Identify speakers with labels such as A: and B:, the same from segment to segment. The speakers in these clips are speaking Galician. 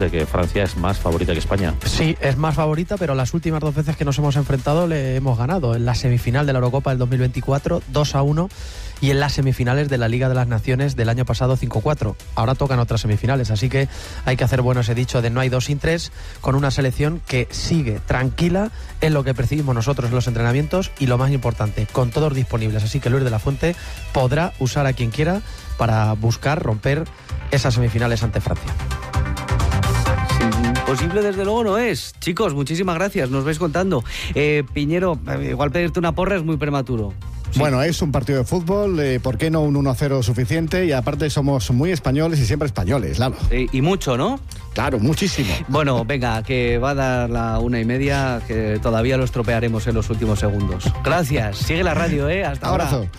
A: de que Francia es más favorita que España.
B: Sí, es más favorita, pero las últimas 2 veces que nos hemos enfrentado le hemos ganado. En la semifinal de la Eurocopa del 2024, 2-1, y en las semifinales de la Liga de las Naciones del año pasado, 5-4. Ahora tocan otras semifinales, así que hay que hacer bueno ese dicho de no hay 2 sin 3, con una selección que sigue tranquila, en lo que percibimos nosotros en los entrenamientos, y lo más importante, con todos disponibles. Así que Luis de la Fuente podrá usar a quien quiera para buscar romper esas semifinales ante Francia.
C: Imposible desde luego no es. Chicos, muchísimas gracias, nos vais contando. Piñero, igual pedirte una porra es muy prematuro. Sí.
D: Bueno, es un partido de fútbol, ¿por qué no un 1-0 suficiente? Y aparte somos muy españoles y siempre españoles, claro.
C: Y mucho, ¿no?
D: Claro, muchísimo.
C: Bueno, venga, que va a dar la 1:30, que todavía lo estropearemos en los últimos segundos. Gracias, sigue la radio, hasta ahora.
D: Abrazo.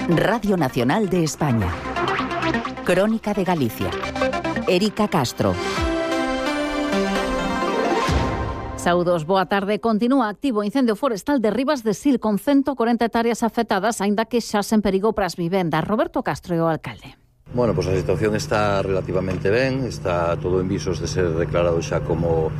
E: Radio Nacional de España. Crónica de Galicia. Erika Castro.
F: Saúdos, boa tarde. Continúa activo o incendio forestal de Ribas de Sil, con 140 hectáreas afectadas, aínda que xa sen perigo para as vivendas. Roberto Castro é o alcalde.
G: Bueno, pues a situación está relativamente ben, está todo en visos de ser declarado xa como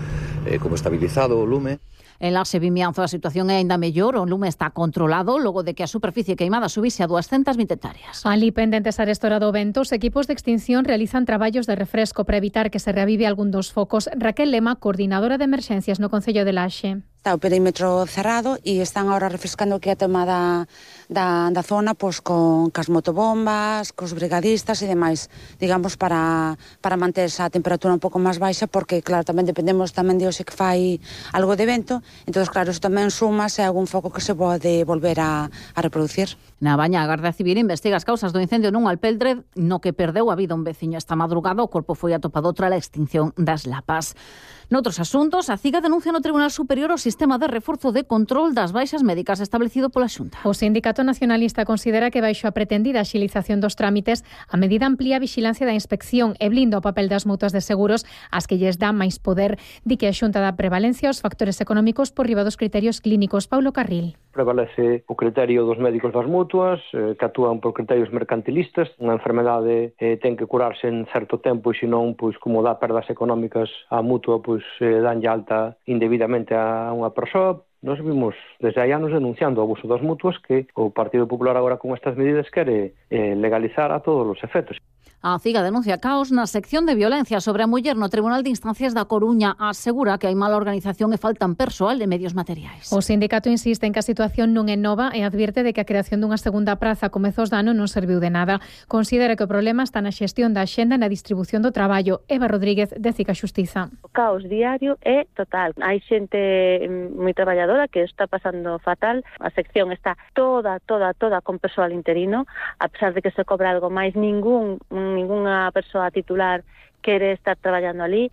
G: estabilizado o lume.
F: En Laxe Vimianzo a situación é aínda mellor, o lume está controlado logo de que a superficie queimada subise a 220 hectáreas.
H: Alí, pendentes a restaurar do vento, os equipos de extinción realizan traballos de refresco para evitar que se reavive algún dos focos. Raquel Lema, coordinadora de emerxencias no Concello de Laxe.
I: Está o perímetro cerrado e están ahora refrescando que a tema da zona pois con cas motobombas, cos brigadistas e demais, digamos, para manter esa temperatura un pouco máis baixa, porque claro, tamén dependemos tamén de hoxe que fai algo de vento, entón claro, isto tamén suma se algún foco que se pode volver a reproducir.
F: Na Baña, a Garda Civil investiga as causas do incendio nun alpendre no que perdeu a vida un veciño esta madrugada. O corpo foi atopado tras a extinción das lapas. Noutros asuntos, a CIGA denuncia no Tribunal Superior o sistema de reforzo de control das baixas médicas establecido pola Xunta.
H: O Sindicato Nacionalista considera que baixo a pretendida axilización dos trámites, a medida amplía a vixilancia da inspección e blinda o papel das mutuas de seguros, as que lles dá máis poder. Di que a Xunta dá prevalencia aos factores económicos por riba dos criterios clínicos. Paulo Carril.
J: Prevalece o criterio dos médicos das mutuas, que actúan por criterios mercantilistas. Unha enfermedade ten que curarse en certo tempo e senón, pois, como dá perdas económicas á mutua, pois danlle alta indebidamente a unha persoa. Nos vimos desde hai anos denunciando o abuso das mutuas, que o Partido Popular agora con estas medidas quere legalizar a todos os efectos.
F: A CIGA denuncia caos na sección de violencia sobre a muller no Tribunal de Instancias da Coruña. Asegura que hai mala organización e faltan persoal e medios materiais.
H: O sindicato insiste en que a situación non é nova e advirte de que a creación dunha segunda praza a comezos de ano non serviu de nada. Considera que o problema está na xestión da axenda e na distribución do traballo. Eva Rodríguez, de CIGA Xustiza.
K: O caos diario é total. Hai xente moi traballadora que está pasando fatal. A sección está toda con persoal interino, a pesar de que se cobra algo máis, ningunha persoa titular quere estar traballando ali.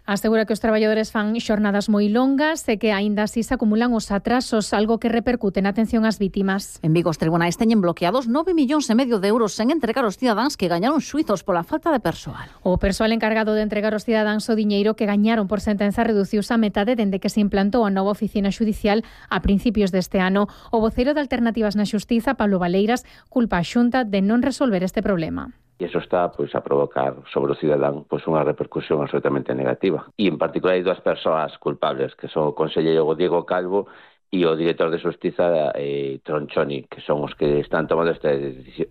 H: Asegura que os traballadores fan xornadas moi longas e que aínda así se acumulan os atrasos, algo que repercute na atención ás vítimas.
F: En Vigo os tribunais teñen bloqueados 9,5 millóns de euros sen entregar aos cidadáns que gañaron xuizos pola falta de persoal.
H: O persoal encargado de entregar aos cidadáns o diñeiro que gañaron por sentenza reduciuse a metade dende que se implantou a nova oficina xudicial a principios deste ano. O voceiro de Alternativas na Xustiza, Pablo Valeiras, culpa a Xunta de non resolver este problema.
L: E iso está a provocar sobre o cidadán unha repercusión absolutamente negativa. E en particular hai 2 persoas culpables, que son o conselleiro Diego Calvo e o director de Xustiza Tronchoni, que son os que están tomando estas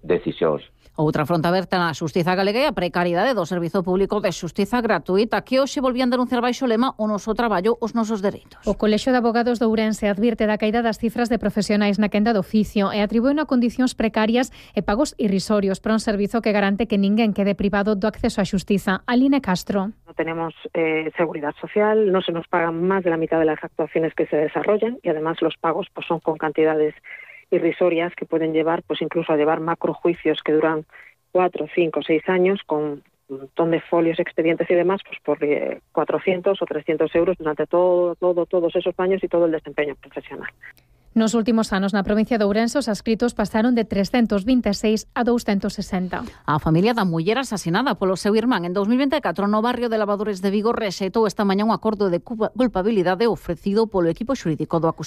L: decisións.
F: Outra fronte aberta na Xustiza galega é a precariedade do Servizo Público de Xustiza Gratuita, que hoxe volvían denunciar baixo lema o noso traballo, os nosos dereitos.
H: O Colexio de Abogados de Ourense advirte da caída das cifras de profesionais na quenda do oficio e atribúe a condicións precarias e pagos irrisorios para un servizo que garante que ninguén quede privado do acceso á xustiza. Aline Castro.
M: No tenemos seguridad social, no se nos pagan más de la mitad de las actuaciones que se desarrollan y además los pagos pues son con cantidades irrisorias que pueden llevar pues incluso a llevar macrojuicios que duran 4, 5, 6 años con un montón de folios, expedientes y demás pues por 400 o 300 euros durante todos esos años y todo el desempeño profesional.
H: Nos últimos anos na provincia de Ourense os adscritos pasaron de 326 a 260.
F: A familia da muller asasinada polo seu irmán en 2024 no barrio de Lavadores de Vigo rexeitou esta mañá un acordo de culpabilidade ofrecido polo equipo xurídico do acusado.